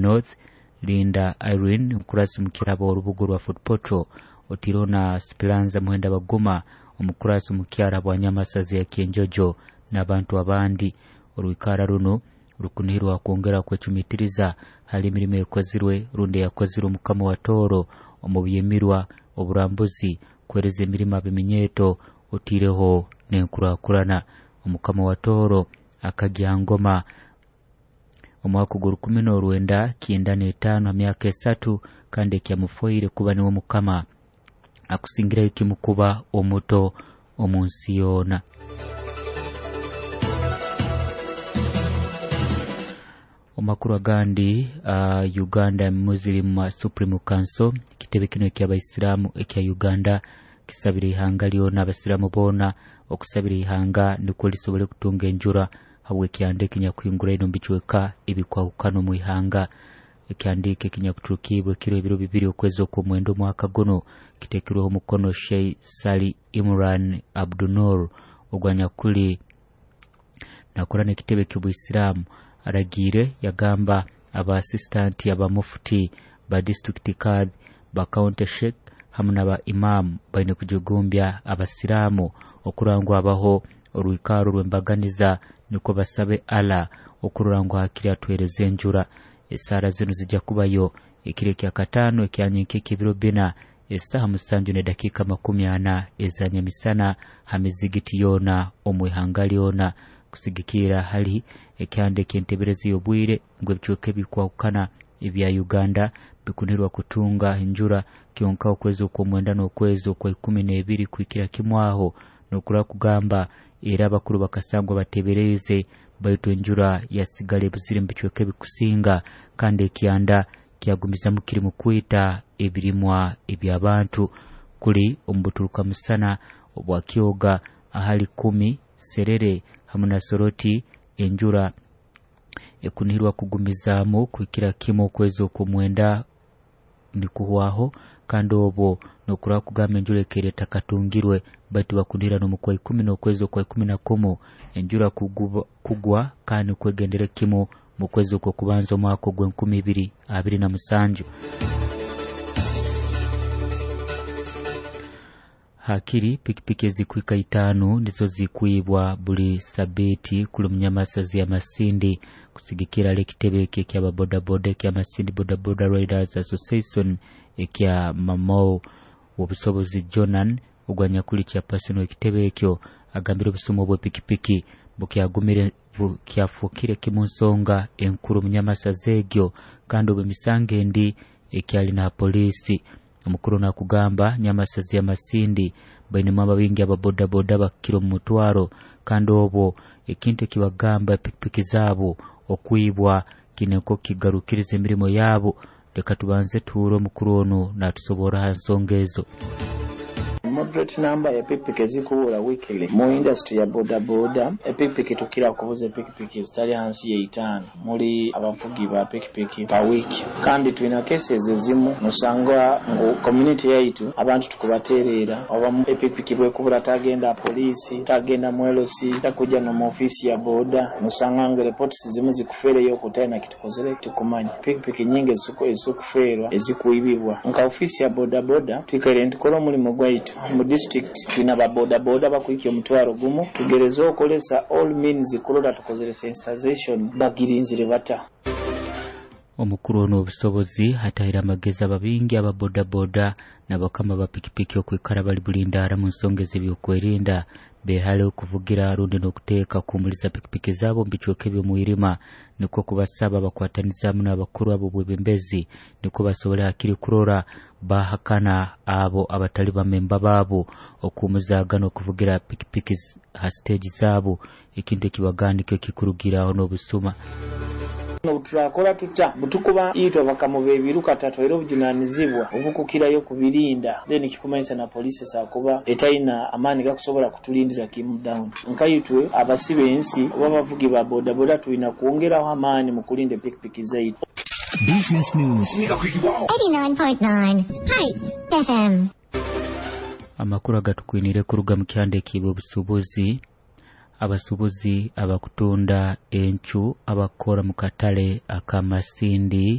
North, Linda Irene omukurasi mukyara w'orubuga rwa Fort Portal, otiireho na Speranza Muhenda Baguma omukurasi mukyara bwa Nyamasazi ya Kyenjojo n'abantu abandi. Orwikara runo rukunihirwa kwongera kwecumitiriza hali emirimo ekozirwe rundi eyakozirwe omukama wa Tooro omu byemirwa, oburambuzi, kuhereza emirimo ab'eminyeeto otiireho n'enkurakurana. Omukama wa Tooro akagya ngoma omwaka gw'o1995 ha myaka 3 kandi ekyamufoire kuba niwe mukama akusingirayo kimu kuba omuto omu nsi yoona. Omakuru agandi, Uganda Muslim Supreme Council, ekitebe kino eky'abaisiramu ekya Uganda kisabire ihanga lyona, abasiramu boona okusabira ihanga nukwo lisobole kutunga enjura habw'ekyanda ekinyakuhinguraine omu bicweka ebikwahukana omu ihanga. Ekyandiiko ekinyakuturukibwe kiro ebiro 2 okwezi okw'omwenda omwaka guno kitekirweho omukono Sheikh Sali Imran Abdunur ogwanyakuli nakora n'ekitebe ky'obuisiramu. Aragiire yagamba aba assistant aba mufuti ba district kadhi ba county sheikh hamu n'aba imam baine kujugumbya abasiramu okurora ngu habaho orwikaro rw'embaganiza nukwo basabe Allah okurora ngu hakiri atuhereza enjura. Esaara zinu zijja kubayo ekiro ekyakataano ekyanyenkya eky'ebiro 4 esaaha 7:40 eza nyamisana ha mizigiti yoona omu ihanga lyona, kusigikira hali ekyanda eky'enteberezi y'obwire ngu ebicweka ebikwahukana ebya Uganda bikunirwa kutunga enjura kyonka okwezi okw'omwenda n'okwezi okwa 12 kuhikira kimu aho n'okurora kugamba era abakuru bakasangwa batebereze baitu enjura yasigala ebuzire mu bicweka ebikusinga kandi ekyanda kyagumizamu kirimu kwita ebirimwa eby'abantu kuli omu buturuka musana obwa Kyoga ahali 10 Serere hamu na Soroti. Enjura ekunihirwa kugumizaamu kuhikira kimu okwezi okw'omwenda nikuhwaho kandi obwo n'okurora kugamba enjura ekaire etakatungirwe baitu bakunihira n'omu kwa 10 n'okwezi okwa 11 enjura kugwa kandi kwegendere kimu mu kwezi okw'okubanza omwaka ogw'e2027. Hakiri pikipiki ezikuhika 5 nizo zikwibwa buli sabiti kuli munyamasazi ya Masindi kusigikira ali ekitebe eki eky'ababodaboda ekya Masindi Bodaboda Riders Association ekya Mamou. Obusobozi Jonan ogwanyakuli chairperson w'ekitebe ekyo agambire obusumu obw'epikipiki bukyagumire bukyafukire kimu nsonga enkuru munyamasazi egyo kandi obw'emisango endi ekyali na polisi. Omukuru nakugamba nyamasazi ya Masindi bainemu ababingi ababodaboda bakira omu mutwaro kandi obwo ekintu ekibagamba pikipiki zaabo okwibwa kineko kigarukiriza emirimo yaabo. Leka tubanze tuhure omukuru ono natusoborra ha nsonga ezo. Moderate number ya pikipiki ezikuwura weekly mu industry ya boda boda. Epikipiki tukira kubuza epikipiki ezitali hansi ya 5 muli abavugi ba pikipiki pa week, kandi tulina cases ezimu nosanga ngu community yaitu abantu tukubaterera oba epikipiki bwekubura tagenda polisi, tagenda mu LC, takuja no mu ofisi ya boda, nosanga ngu reports zimu zikufereyo kutaina kitukozere tukumanya. Pikipiki nyingi ezikuferwa ezikuibibwa nka ofisi ya boda boda. Twikaire ntukora omulimu gwaitu mu district, tulina ba boda boda bakuhika omutwaro gumu, tugereza okolesa all means kulola tukozere sensitization bagirinzire bata. Omukuru ono obusobozi hatahira amagezi ababingi aba boda boda n'abakama ba pikipiki okwikara bali bulindaara mu nsonga ez'ebyokwerinda, behale okuvugira rundi n'okuteeka kuhumuliza pikipiki zaabo mu bicweka eby'omwirima, nukwo kubasaba bakwatanizaamu n'abakuru ab'obwebembezi nukwo basobole hakiri kurora bahakana abo abatali bamemba baabo okuhumuzaaga n'okuvugira pikipiki ha siteegi zaabo, ekintu ekibagamba nikyo kikurugiraho n'obusuma. Obuturakora tuta butukuba itwe bakamuba ebiruka tatwaire obujunanizibwa obukukirayo kubirinda, then kikumanyisa na polisi esakuba etaina amaani gakusobola kutulindira kimu down. Nkaitwe abasibe ensi oba abavugi ba bodaboda tulina kwongeraho amaani mu kulinda epikipiki zaitu. Business News 89.9 Hype FM. Amakuru agatukwinire kuruga mu kyanda eky'obusuubuzi. Abasuubuzi abakutunda encu abakora mu katale akamasindi